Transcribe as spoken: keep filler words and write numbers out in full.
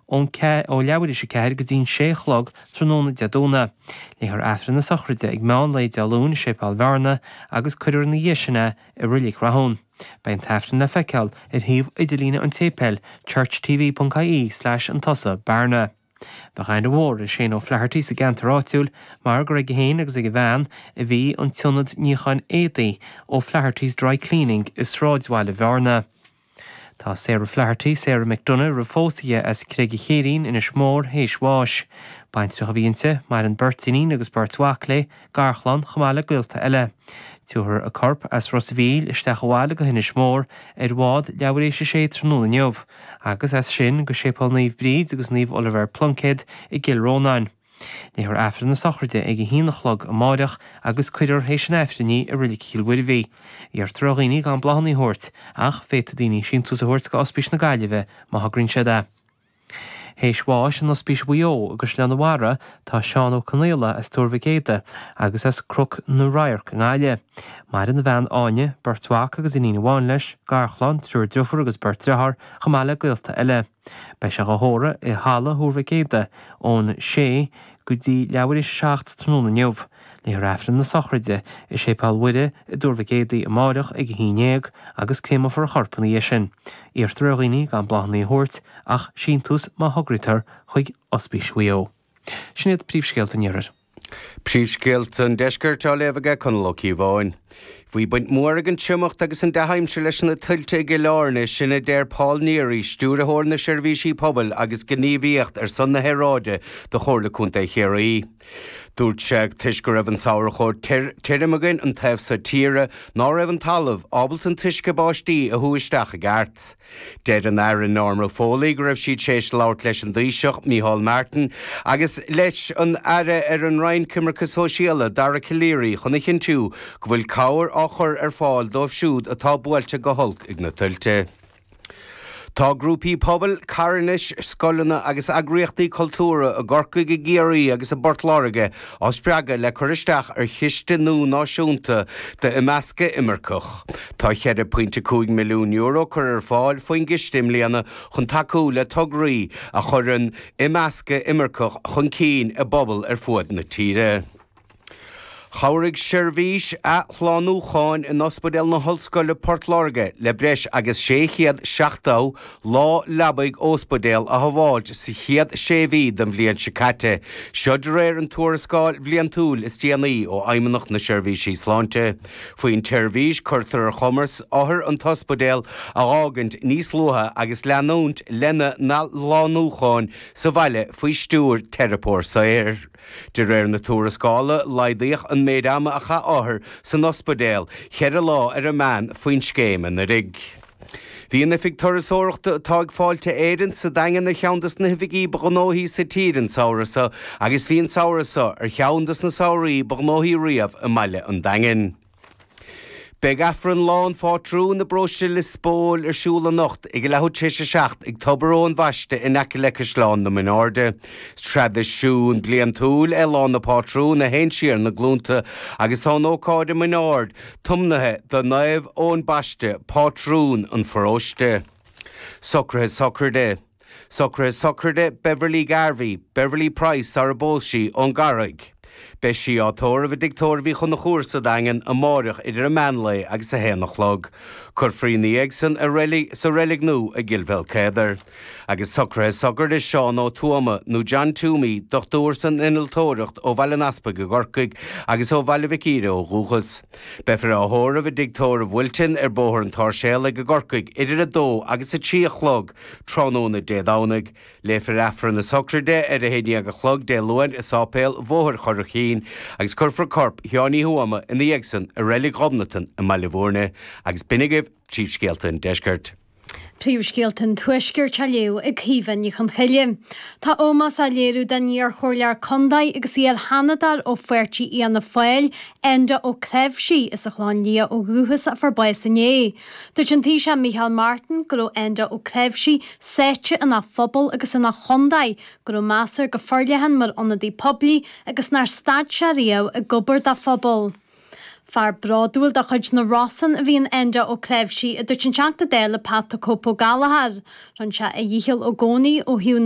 ón ó leathuair théis a ceathair go dtí'n sé a chlog tráthnóna Dé Domhnaigh. Léifear Aifreann na sochraide ag meán lae Dé Luain i Séipéal Bhearna agus cuirfear ina dhiaidh sin é i Reilig Rathún. Beidh an t-aifreann le feiceáil ar shuíomh idirlíne an tséipéil churchtv.ie slash an tusa Bearna. Bheadh aithne mhór ar Shane O'Flaherty sa gceantar áitiúil mar gur aige féin agus ag a bhean a bhí an t-ionad níocháin éadaí O'Flaherty's Dry Cleaning i sráidbhaile Bhearna. Tá Sarah Flaherty, Sarah McDonough roimh phósadh as Creig an Chéirín Inis Mór théis bháis. Baintreach a bhí inti, maireann beirt iníon agus beirt mhac léi, garchlann chomh maith le gaolta eile. Tabharfar a corp as Ros an Mhíl isteach abhaile go hInis Mór ar bhád leathuair théis a sé tráthnóna inniu, agus as sin go Séipéal Naomh Bríd agus Naomh Oliver Pluincéad i gCill Rónáin. Léifear Aifreann na sochraide ag a haon a chlog amáireach agus cuirfear théis an Aifrinn í i Reilig Chill Mhuirbhigh. Iarrtar ar dhaoine gan bláthanna a thabhairt, ach féadfaidh daoine síntiús a thabhairt go Ospís na Gaillimhe má thograíonn siad é. Théis bháis in Ospís Mhaigh Eo i gCaisleán an Bharraigh tá Seán Ó Conaola as Tuar Mhic Éadaigh agus as Cnoc na Radharc i nGaillimh. Maireann a bhean Áine, beirt mhac agus iníon amháin leis, garchlann, triúr deirfiúr agus beirt deartháir, chomh maith le gaolta eile. Beidh sé á thórramh i halla Thuar Mhic Éadaigh ón sé go dtí leathuair théis a seacht tráthnóna inniu. Léifear Aifreann na sochraide i Séipéal Mhuire i dTuar Mhic Éadaigh amáireach ag a haon déag agus créamfar a chorp ina dhiaidh sin. Iarrtar ar dhaoine gan bláthanna a thabhairt ach síntiús má thograítear chuig Ospís Mhaigh Eo. Sin iad príomhscéalta an iarthair. Príomhscéalta an deiscirt á léamh aige Conall Ó Cíobháin. Bhí baint mhór ag an triomacht agus an dea-aimsir leis na tuilte i gCill Airne sin a deir Paul Neary, stiúrthóir na seirbhísí pobail agus gníomhaíocht ar son na haeráide do Chomhairle Contae Chiarraí. Dúirt sé toisc go raibh an samhradh chomh tirim againn an taobh seo tíre ná raibh an talamh ábalta an t-uisce báistí a shú isteach i gceart. Deir an Aire Norma Foley go raibh siad théis labhairt leis an dTaoiseach Micheál Martin agus leis an Aire ar an Roinn Coimirce Sóisialta Dara Calleary chun a chinntiú go bhfuil cabhair á chur ar fáil dóibh siúd atá buailte go holc ag na tuilte. Tá grúpaí pobail, carthanais, scoileanna agus eagraíochtaí cultúrtha i gCorcaigh i gCiarraí agus i bPort Láirge á spreagadh le cur isteach ar chiste nua náisiúnta d'imeascadh imirceach. Tá ceithre pointe cúig milliún euro curtha ar fáil faoin gciste i mbliana chun tacú le tograí a chuireann imeascadh imirceach chun cinn i bpobail ar fud na tíre. Chabhraigh seirbhís athshlánúcháin in Ospidéal na hOllscoile Port Láirge le breis agus sé chéad seachtó lá leabaidh ospidéal a shábháilt sa chéad sé mhí den bhliain seo caite. Seo de réir an tuarascáil bhliantúil is déanaí ó Fheidhmeannacht na Seirbhísí Sláinte. Faoin tseirbhís cuirtear ar chumas othair an t-ospidéal a fhágaint níos luaithe agus leanúint lena n-athshlánúcháin sa bhaile faoi stiúir teiripeoir saothair. De réir na tuarascála laghdaíodh an méid ama a chaith othair san ospidéal, ceithre lá ar an meán faoin scéim anuraidh. Bhí an oifig turasóireachta atá ag Fáilte Éireann sa Daingean ar cheann des na hoifigí ba ghnóthaí sa tír an samhradh seo agus bhí an samhradh seo ar cheann des na samhraí ba ghnóthaí riamh i mbaile an Daingin. Beidh Aifreann Lá an Phátrúin i bparóiste Lios Póil ar siúl anocht ag leathuair tar éis a seacht ag Tobar Eoin Bhaiste in aice le Caisleán na Mín Airde. Traidisiún bliantúil é Lá na Pátrún a théann siar na glúnta agus tá an ócáid i Mín Aird tiomnaithe do Naomh Eoin Baiste, pátrún an pharóiste. Socruithe sochraide. Socruithe sochraide Beverly Garvey, Beverly Price sara bpós sí ón gCarraig. Beidh sí á tórramh i dtigh tórraimh Uí Chonchúir sa Daingean amáireach idir an meánlae agus a haon a chlog. Cuirfear í ina dhiaidh san sa reilig nua i gCill Bhéalcéadar. Agus socruithe sochraide Seán Ó Tuama nó John Toomey, dochtúir san innealtóireacht ó Bhaile an Easpaig i gCorcaigh agus ó Bhaile Mhic Íre ó dhúchas. Beifear á thórramh i dtigh tórraimh Wilton ar Bhóthar an tSáirséalaigh i gCorcaigh idir a dó agus a trí a chlog tráthnóna Dé Domhnaigh. Léifear Aifreann na sochraide ar a haon déag a chlog Dé Luain i Sáipéal Bhóthar Churraichín agus cuirfear corp Sheáin Uí Thuama ina dhiaidh san i reilig Ghobnatan i mBaile Bhúirne agus b'in agaibh príomhscéalta an deiscirt. Príomhscéalta an Tuaiscirt á léamh ag Caoimhe Ní Chonchoille. Tá ómós á léiriú don iarchomhairleoir contae agus iar-sheanadóir ó pháirtí Fhianna Fáil, Enda Ó Cnáimhsí, as an Chlochán Liath ó dhúchas a fuair bás inné. Dúirt an Taoiseach Micheál Martin go raibh Enda Ó Cnáimhsí sáite ina phobal agus ina chontae, go raibh meas air go forleathan mar ionadaí poiblí agus nár stad sé riamh ag obair dá phobal. Fear bródúil de chuid na Rosann a bhí in Enda Ó Creimhsí a dúirt an Teachta Dála Pat the Cope Ó Gallchóir. Rinne sé a dhícheall i gcónaí ó thaobh